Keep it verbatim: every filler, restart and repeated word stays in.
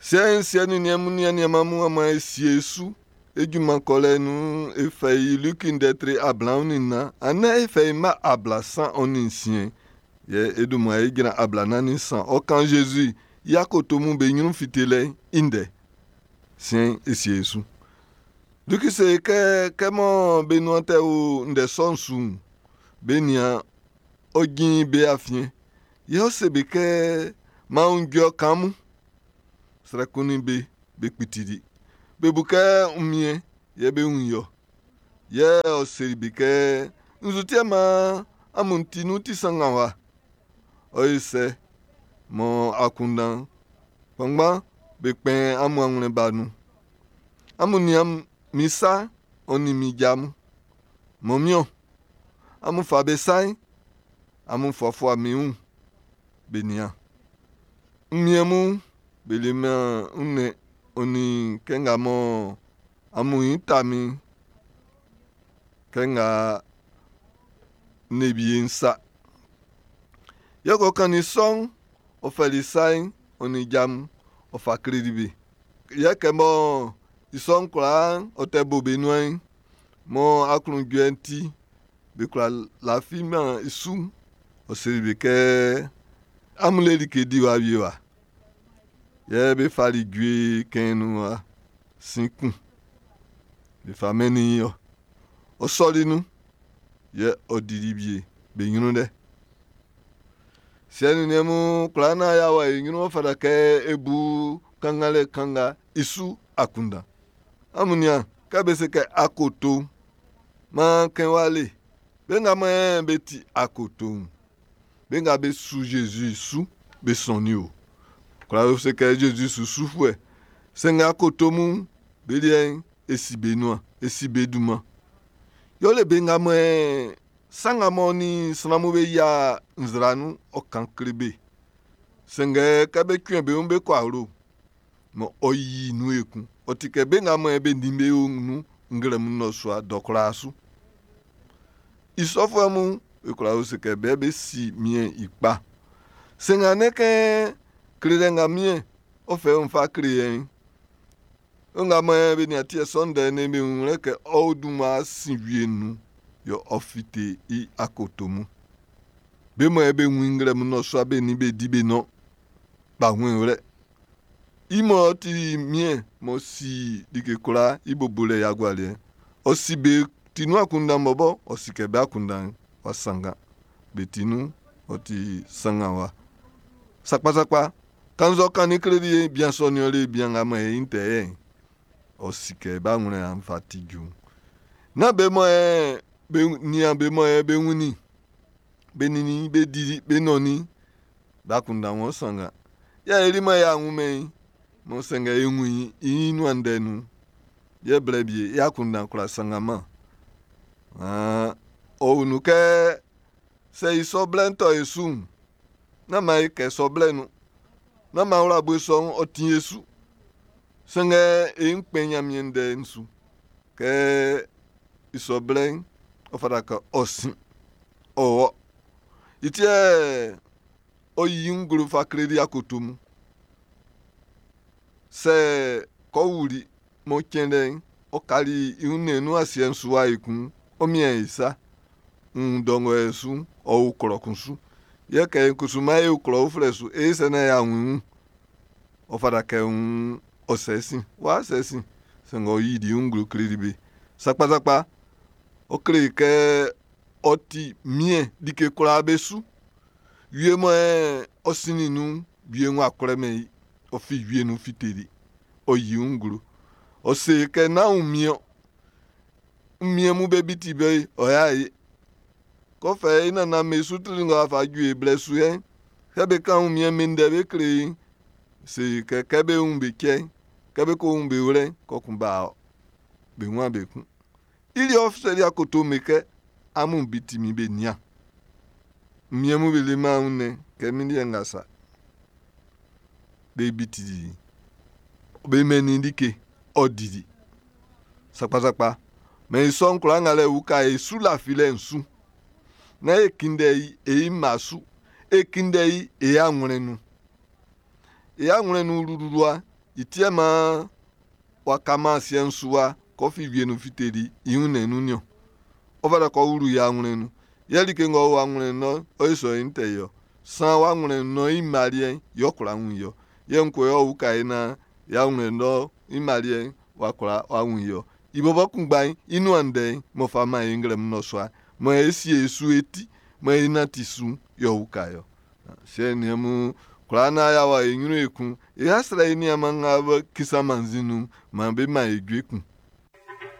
Siɛ'n siɛ nin niɛn mun nin aniaan mun amun e sie su e junman kɔlɛ nun e fɛ i Liki ndɛ tre ablaɔn nin nnan anɛ e fɛ i mma ablasan ɔ nin nsiɛn yɛ e dun mmua e jran ablanan nin nsan ɔ kan Zezi i akoto mun be ɲrun fitelɛ'n i ndɛ. Siɛn'n e sie e su. Liki se kɛ kɛ mɔ be nuan tɛ o ndɛ sɔ'n su'n, be nian ɔ jin be afiɛn. Yɛ ɔ se be kɛ, "Maan aunjuɛ kan amun." Srɛ kunnin be, be kpitili. Be bu kɛ wunmiɛn yɛ be wun i-ɔ. Yɛ ɔ seli be kɛ, "Nzu ti yɛ maan amun ti nun ti sannganwa? Ɔ yo sɛ mɔ akunndan kpanngban be kpɛn amun awlɛn ba nun. Amun nian min sa ɔ nin min ja mun. Mɔ min amun fa be sa'n, amun fuafua min wun be nian. Wunmiɛn mun be leman wunnɛn ɔ nin kɛ nga mɔ amun ɲin ta min kɛ nga n le wie'n sa. Yɛ kɛ ɔ kannin sɔ'n, ɔ fɛli i sa'n ɔ nin ja mun, ɔ fa kleli be. Yɛ kɛ mɔ i sɔ'n kwlaa ɔ tɛ bo be nuan'n, mɔ aklunjuɛ'n ti be kwla lafiman i su'n, ɔ seli be kɛ, amun le like diwa wie wa. Yɛ be fali jue kɛn nun sin kun. Be fa mɛnnin i ɔ. Ɔ sɔli nun, yɛ ɔ dili wie be ɲrun lɛ. Siɛ nin niɛn mun kwlaa naan y'a wɔ e ɲrun ɔ fata kɛ e bu kannganlɛ kan nga i su akunndan. Amun nian, kɛ be se kɛ akoto'n, maan kɛn wa le. Be nga mɔ be ti akoto'n, be nga be su Zezi su, be sɔnnin o. Kwla se kɛ Zezi su sufuɛ. Sanngɛ akoto mun, be liɛ'n, e si be nuan, e si be dunman. Yɛ le be nga mɔ sa nga mɔ nin sran mun be yia nzra nun ɔ kan kle be. Sanngɛ kɛ be cuɛn be wun be kɔ awlo, mɔ ɔ yi nun ekun. Ɔ ti kɛ be nga mɔ be nin be o nun nglɛmun nnɔsua dɔ kwlaa su. I sɔfuɛ mun, e kwla se kɛ be be si miɛn i kpa. Sanngɛ ne kɛ klelɛ nga miɛn ɔ fɛ wun fa kle yɛn. Nga mɔ be nin atiɛ sɔ ndɛ ne be wun lɛ kɛ ɔ dun ma sin wie nun yɛ ɔ fite i akoto mun. Be mɔ be wun nglɛmun nnɔsua be nin be di be nɔn ba wun wlɛ. I mɔ ti miɛn m'ɔ si like kwlaa i bobolɛ i agualiɛ. Ɔ si be ti nun akunndan bɔbɔ, ɔ si kɛ be akunndan wa sanngan. Be ti nun ɔ ti sanngan wa. Sakpasakpa, kannzɛ ɔ kannin kleli bian sɔ nin ɔ le bian nga mɔ e tɛ yɛ'n, ɔ si kɛ b'a wlɛ an fa ti ju. Na be mɔ ɛ be nian be mɔ ɛ be wunnin, be nini be di be nɔnnin, be akunndan wɔn sanngan. Yɛ eli mɔ y'a wun mɛn i, mɔ sanngɛ e wun i i nuan ndɛ nun. Yɛ blɛ bie i akunndan kwla sannganman. Ah, ɔ wun kɛ sɛ i sɔ blɛ'n tɔ e su'n, nán maan e kɛ sɔ blɛ nun. Nán maan wla bue sɔ'n ɔ tin e su. Sanngɛ e ń kpɛn Ɲanmiɛn ndɛ'n su. Kɛ i sɔ blɛ'n, ɔ fata kɛ ɔ sin, ɔ wɔ. I ti yɛ ɔ yi nglo fa kleli akoto mun. Sɛ kɔ wuli mɔ cɛn lɛ'n, ɔ kali i wunnɛn'n nun asiɛ'n su wa ekun, ɔ mian i sa. Ń dɔngɔ su, ɔ o klɔ kun su. Yɛ kɛ kusu maan e o klɔ uflɛ su, e sɛ na y'a wun wun. Ɔ fata kɛ ń ɔ sɛ sin, w'a sɛ sin. Sanngɛ ɔ yi di nglo kleli be. Sakpasakpa, ɔ kle kɛ ɔ ti miɛn like kwlaa be su. Wie mɔ ɔ sinnin nun, wie w'a kwlɛmɛn i. Ɔ fi wie nun fiteli. Ɔ yi nglo. Ɔ se kɛ nán wunmiɛn. Wunmiɛn mun be biti be ɔ y'a ye. Kɔfɛ i nannan me su tili nga fa ju e blɛ su yɛn. Kɛ be kan wunmiɛn me ndɛ be kle i, se kɛ kɛ be wun be cɛn, kɛ be ko wun be wlɛ, kɔkun ba be wun be kun. I li ɔ seli akoto me kɛ amun biti mi be nian. Wunmiɛn mun be leman wunnɛn kɛ min liɛ nga sa. Be biti be mɛnnin like ɔ didi. Sakpasakpa. Mɛ i sɔ'n kwlaa nga lɛ uka e su lafilɛ'n su. Na e kunndɛ i e mma su. E kunndɛ i e awlɛn nun. E awlɛn nun wluwluwa I ti yɛ maan w'a kaman asiɛ'n su wa k'ɔ fi wie'n nun fiteli i wunnɛn'n nun'n niɔn. Ɔ fata kɛ ɔ wlu i awlɛn'n nun. Yɛ like ng'ɔ o awlɛn'n nun'n, ɔ yo sɔ yɛ'n tɛ yɛ. San w'awlɛn'n nun'n i mma liɛ'n yɛ ɔ kwla wun i-ɔ. Yɛ ngue yɛ ɔ uka e naan i awlɛn'n nun'n i mma liɛ'n w'a kwla w'a wun i-ɔ. I bɔbɔ kunngba'n i nuan ndɛ'n m'ɔ fa man e nglɛmun nnɔsua, mɔ e sie e su e ti, mɔ e nanti su'n, yɛ ɔ uka e-ɔ. Siɛ nin mun, kwlaa naan y'a wɔ e ɲrun ekun, e asrɛ e niaanman nga be kisan mannzin nun'n, maan be man e jue kun.